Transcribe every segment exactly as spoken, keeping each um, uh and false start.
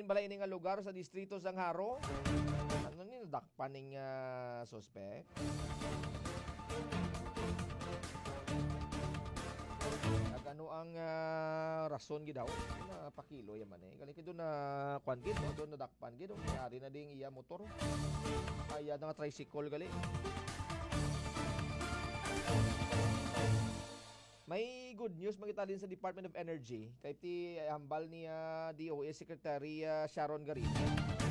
Bala ini nga lugar sa distrito sang Jaro. Ano ni nadakpan ning, ah, suspek? Nag-ano ang, ah, rason gid daw? Napakilo yaman eh. Gali kay doon na kwan gid, no? Doon nadakpan gid, oh. Yari na ding iya motor. Ay, iya na nga tricycle gali. May good news man kita din sa Department of Energy. Kay ti hambal ni, ah, D O E Secretary, ah, Sharon Garin,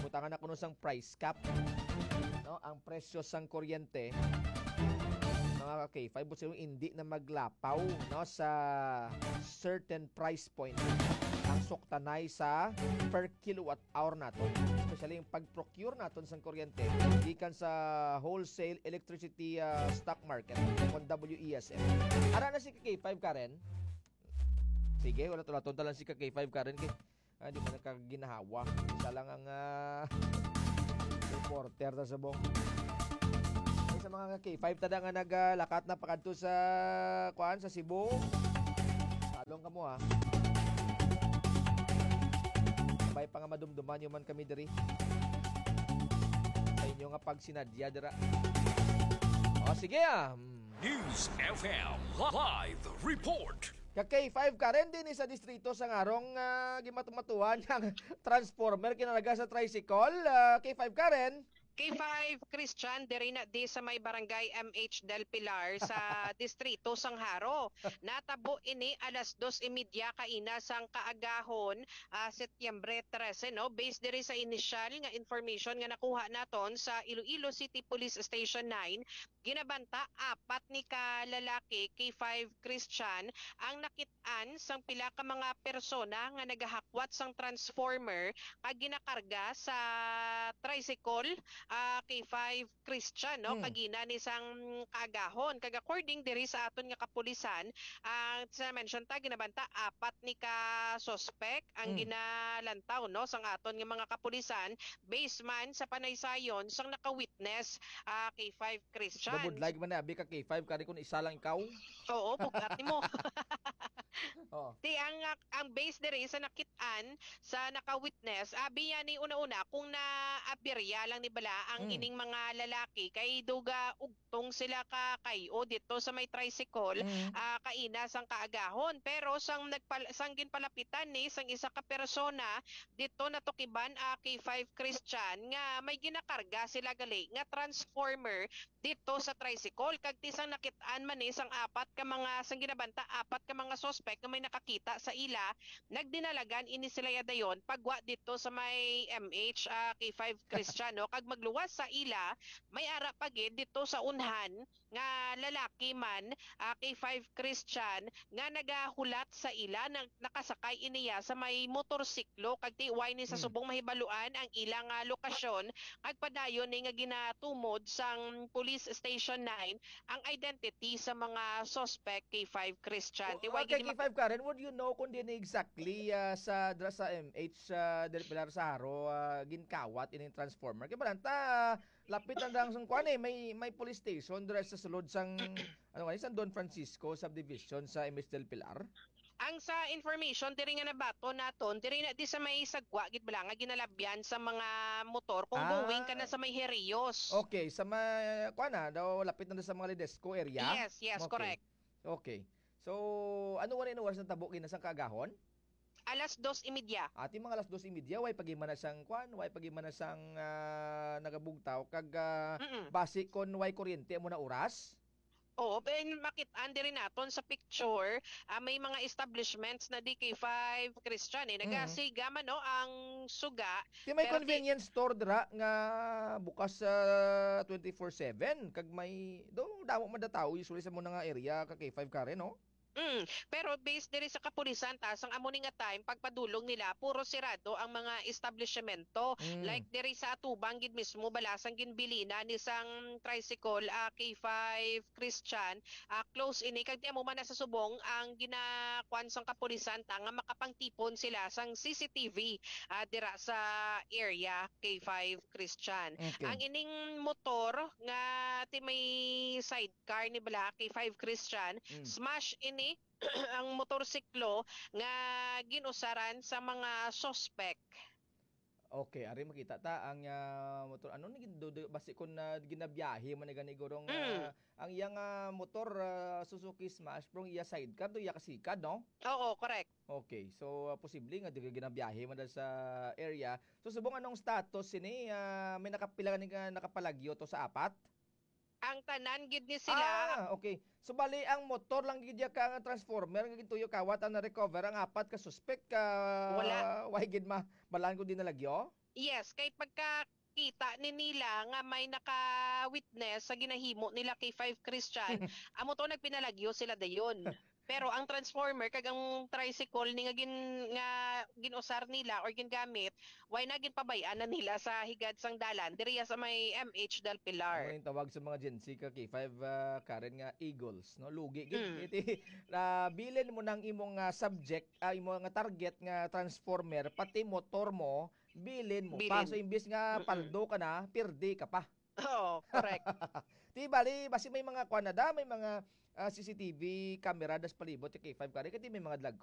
butangan na kuno sang price cap, no, ang presyo sang kuryente, mga ka-K five, buot silingon, hindi na maglapaw, no, sa certain price point ang suktanay sa per kilowatt hour naton, especially yung pag-procure naton sang kuryente gikan sa wholesale electricity, ah, stock market, kon W E S M. Ara na si ka-K five, Karen. Sige, wala, wala, tonta lang si ka-K five, Karen, kay, ah, di man nagkaginahawa. Isa lang ang, ah, reporter ta subong. Ay, sa mga ka-K five tada nga naglakat na pakadto sa, kuan, sa Cebu. Talong kamo, ha. May pa nga madumduman nyo man kami diri sa inyo nga pagsinadya dira. O, sige, ah. Mm. News F M live report. Ka-K five, Karen, din sa distrito sang Jaro, ah, gimatumatuhan ang transformer kinalaga sa tricycle. Ah, K five, Karen. K five Christian, diri na di sa may barangay M H Del Pilar sa distrito sang Jaro. Natabo ini alas dos y media kaina sang kaagahon, ah, Setyembre trese, no? Based diri sa inisyal nga information nga nakuha naton sa Iloilo City Police Station nine, ginabanta apat ni ka lalaki, K five Christian, ang nakit-an sang pila ka mga persona nga nagahakwat sang transformer kag ginakarga sa tricycle, ah, K five Christian, no? Hmm. Kagina ni sang kaagahon. Kag according diri sa aton nga kapulisan, ang sa mention ta, ginabanta apat ni ka suspect ang Hmm. ginalantaw, no, sang aton nga mga kapulisan, based man sa panaysayon sang naka-witness, ah, K five Christian. Nabudlay man na, abi ka K five, kari kung isa lang ikaw. Oo, bugat nimo. Oh. Ti ang, ang base diri sa nakit-an sa naka-witness, abi niya ni una-una kung naaberya lang ni bala ang Mm. ining mga lalaki kay duga ugtong sila ka kay-o dito sa may tricycle, Mm. ah, kaina sang kaagahon. Pero sang nagpal-, sang ginpalapitan ni sang isa ka persona dito natukiban, ah, K five Christian nga may ginakarga sila gali nga transformer dito sa tricycle. Kag ti sang nakit-an man ni sang apat ka mga, sang ginabanta, apat ka mga suspect nga may nakakita sa ila, nagdinalagan ini sila ya dayon pagwa dito sa may M H, ah, K five Christian, no? Kag magluwas sa ila, may ara pa gid dito sa unhan nga lalaki man, ah, K five Christian, nga nagahulat sa ila, nag-, nakasakay iniya sa may motorsiklo, kag ti way ni sa Hmm. subong mahibaluan ang ilang, ah, lokasyon, kag padayon ni nga ginatumod sang Police Station nine ang identity sa mga suspect, K five Christian. Ti O, way okay, gid ni K five Karen, would you know kung din exactly, ah, sa, dra sa M H, ah, Del Pilar sa Jaro, ah, ginkawat ining transformer? Kay balanta, lapit lang dang sang kuan eh, may, may police station dra sa sulod sang, ano nga, sang Don Francisco subdivision sa M H Del Pilar. Ang sa information diri nga nabaton naton, diri na di sa may sagwa gid bala nga ginalabyan sa mga motor kung Ah. going ka na sa may Herios. Okay, sa may, kuan na, daw lapit na sa mga Ledesco area? Yes, yes, Okay. correct. Okay. So, ano wala yung oras ng tabo, ginasang kaagahon? Alas dos y media. Ati mga alas dos y media, way pag-iman na sang kuan, way pag-iman na sang, ah, nagabugtaw, kag, ah, Mm-mm. basi kon way kuryente mo na oras? Oo, ben, makit-an diri naton sa picture, ah, may mga establishments na D K five Christian, eh. Mm. Nagasiga man, no, ang suga. Ti may Pero ti- convenience store dira nga bukas sa twenty-four seven, kag may, do, damo man da tao usually sa muna nga area, ka K five Karen, no? Mm, pero based diri sa kapulisan, ta, sang amo ni nga time, pagpadulong nila, puro sirado ang mga establishmento. Mm. Like diri sa atubang gid mismo, balasang ginbilina ni sang tricycle, ah, K five Christian, ah, close ini. Kag di amo man na sa subong ang ginakuan sang kapulisan, ta, nga makapangtipon sila sang C C T V, ah, dira sa area, K five Christian. Okay. Ang ining motor nga ti may side car ni bala, K five Christian, Mm. smash ini ang motorsiklo nga ginusaran sa mga suspect. Okay, ari makita ta ang, ah, motor. Ano ni do, do, basi kon, ah, ginabiyahe man ni gani gurong, Mm. ah, ang iyang, ah, motor, ah, Suzuki Smash, pero ang iya sidecar do iya kasikad, no? Oo, correct. Okay, so, ah, posible nga di ka ginabiyahe man dahil sa area. So, subong anong status sini? Ah, may nakapila ni nga nakapalagyo to sa apat? Ang tanan gid ni sila. Ah, okay. So, bali, ang motor lang gid ya ka nga transformer nga gintuyo kawat ang na-recover, ang apat ka suspect ka Wala. Why gid ma? Balaan ko din nalagyo? Yes, kay pagkakita ni nila nga may naka-witness sa ginahimo nila kay Five Christian, amo to nagpinalagyo sila dayon. Pero ang transformer kag ang tricycle ni nga gin nga ginusar nila or gingamit, why na ginpabayan na nila sa higad sang dalan diriya sa may M H Del Ano Pilar. yung tawag sa mga Gen Z ka K five, ah, Karen, nga eagles, no? Lugi gid. Mm. Iti, ah, bilin mo nang imong, ah, subject, ah, imo nga target nga transformer, pati motor mo, bilin mo pa. Bilin. So, imbis nga Mm-mm. paldo ka na, pirdi ka pa. Oo, correct. Di bali, basi may mga kuan na da, may mga, ah, C C T V camera das palibot yung K five Karen, kaya may mga dalag